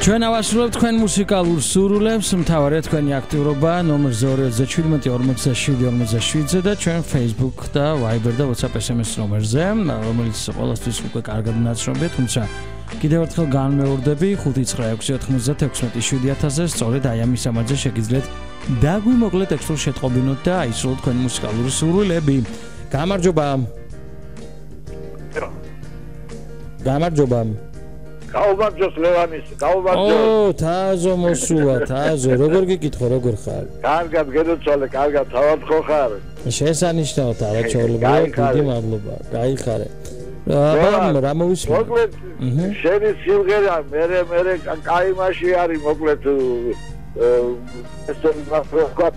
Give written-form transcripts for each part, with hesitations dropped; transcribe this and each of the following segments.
ჩვენ ავასრულებთ თქვენ მუსიკალურ სურვილებს, მთავარია თქვენი აქტიურობა ნომერზე 237-47-47-ზე და ჩვენ Facebook და Viber და WhatsApp SMS ნომერზე, რომელიც ყველასთვის უკვე კარგად ნაცნობია, თუმცა კიდევ ერთხელ განმეორდები 596-96-7000-ზე, სწორედ აი ამის ამაზე შეგიძლიათ დაგვიმოკლეთ ტექსტურ შეტყობინოთ და აისრულოთ თქვენი მუსიკალური სურვილები. გამარჯობა. გამარჯობა. გაუმარჯოს ლევანის, გაუმარჯოს. ო, თაზო მოსულა, თაზო, როგორ გიკითხო, როგორ ხარ? კარგად გედოცვალე, კარგად, თავად ხო ხარ? შესანიშნავად არაჩვეულებრივ, დიდი მადლობა. გაიხარე. რა მოვისმინე? მოკლედ, შენი სიმღერა, მე კაი მასში არის, მოკლედ ესე ვთქვათ,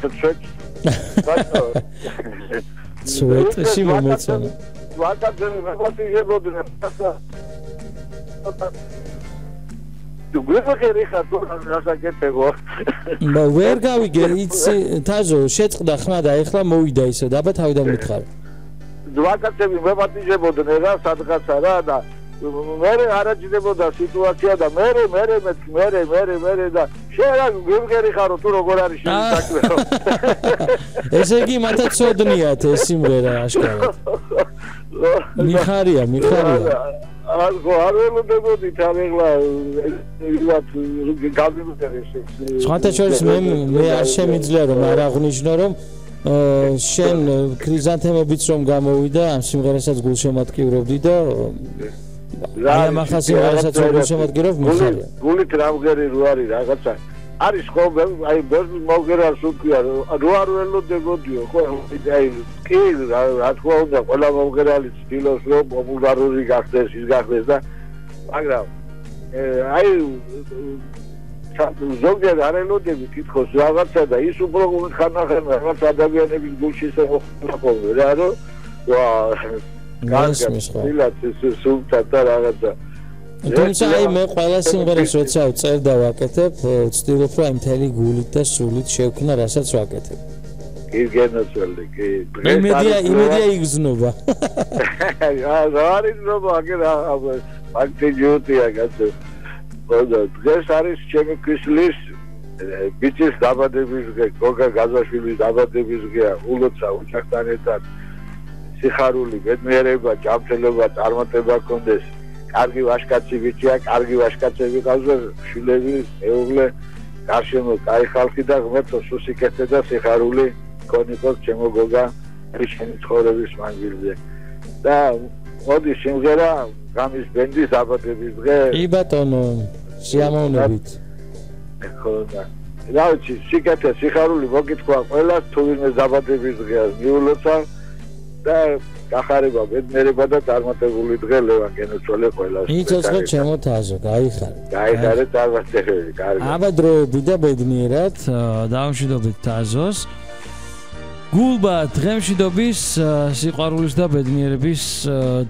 სუეტში მომეწონა. ვაკაცები მოგატიჟებოდნენ. Tu გვერდები ხარ თუ რასაკეთებო? ვერ გავიგე, იცი, თაზო, შეწყდა ხმა და ეხლა მოვიდა ისე და აბა თავიდან მითხარ. ვაკაცები მოგატიჟებოდნენ რა სადღაცა რა და მე არაჯდებოდა სიტუაცია და მე და შენ რა გვერდები ხარო თუ როგორ არის შენი საქმე? ესე იგი მათაც ცოდნიათ ეს სიმღერა აშკარად. მიხარია. არ ველოდებოდი თამეხლა ვიღაც გავიმეწერეს. სხვათა შორის მე არ შემიძლია რომ არ აღვნიშნო რომ შენ ქრიზანთემებიც რომ გამოვიდა ამ სიმღერასაც გულშემატკივრობდი და აი ამ ახალ სიმღერასაც რომ გულშემატკივრობ მიხარია. გულით რამღერი რო არის რაღაცა არის ხო აი მოგერას უქვია რო არ ველოდებოდიო ხო აი კი რა თქმა უნდა ყველა მომღერალი ცდილობს რომ პოპულარული გახდეს ის გახდეს და მაგრამ აი ზოგიერთ არ ელოდები თითქოს რაღაცა და ის უფრო ხანახან რაღაც ადამიანების გულში ისე მოხდა რა რომ კარგად სულთა და რაღაცა თუმცა აი მე ყველა სიმღერას როცა ვწერ და ვაკეთებ, ვცდილობ რომ აი მთელი გულით და სულით შევქნა, რასაც ვაკეთებ. კი გენოცვალე, კი. იმედია იგზნობა. რა არის ნობა, აგერა ფაქტიჯუტია კაცო. დღეს არის ჩემი ქისლის ბიჭის დაბადების დღე, გოგა გაზაშვილის დაბადების დღეა, ულოცა ოჯახთან ერთად სიხარული, ბედნიერება, ჯანმრთელობა, წარმატება გქონდეს. კარგი ვაშკაცი ბიჭია, კარგი ვაშკაცები ყავს, შვილები, მეუღლე, გარშემო კაი ხალხი და ღმერთო სუსიკეთე და სიხარული გქონიყოს ჩემო გოგა შენი ცხოვრების მანძილზე. და მოდი სიმღერა გამის ბენდის დაბადების დღე. კი ბატონო, სიამოვნებით. ხო და რა ვიცი, სიკეთე, სიხარული მოგითქვა ყველას, თუ ვინმე დაბადების დღეა მიულოცა და გახარება, ბედნიერება და წარმატებული დღე ლევან გენოცვალე ყველას. იცოცხლე ჩემო თაზო, გაიხარე. გაიხარე წარმატებები, კარგი. აბა დროები და ბედნიერად დავამშვიდობთ თაზოს. გულბა დღემშვიდობის, სიყვარულის და ბედნიერების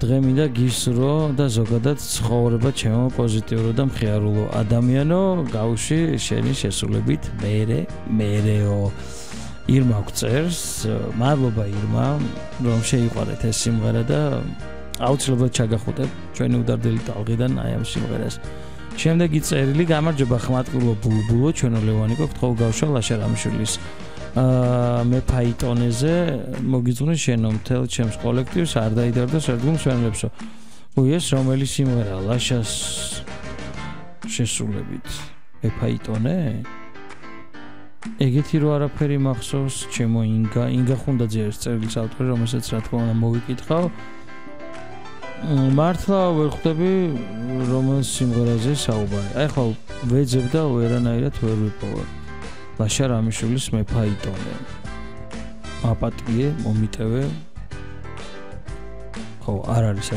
დღე მინდა გისურვო და ზოგადად ცხოვრება ჩემო პოზიტიურო და მხიარულო ადამიანო, გავუში შენი შესრულებით მერეო. ირმა გწერს, მადლობა ირმა, რომ შეიყვარეთ ეს სიმღერა და აუცილებლად ჩაგახუტებ ჩვენი უდარდელი ტალღიდან აი ამ სიმღერას. შემდეგი წერილი გამარჯობა ხმატკილო ბულბულო, ჩვენო ლევანი გქონთ ხოლ გავშვა ლაშა რამიშვილის მე ფაიტონეზე მოგიძღვნა შენო მთელ ჩემს კოლექტივს არ დაიდარდო სერგუნს ვენლებსო. ეს რომელი სიმღერა ლაშას შესრულებით მე ფაიტონე? ეგეთი რო არაფერი მახსოვს, ჩემო ინგა ხუნდაძე არის წერილის ავტორი, რომელსაც რა თქმა უნდა მოვიკითხავ. მართლა ვერ ხვდები რომელ სიმღერაზე საუბარი. აი ხო ვეძებ და ვერანაირად ვერ ვიპოვე. ლაშა რამიშვილის მე ფაიტონე. აპატიე, მომიტევე. ხო, არ არის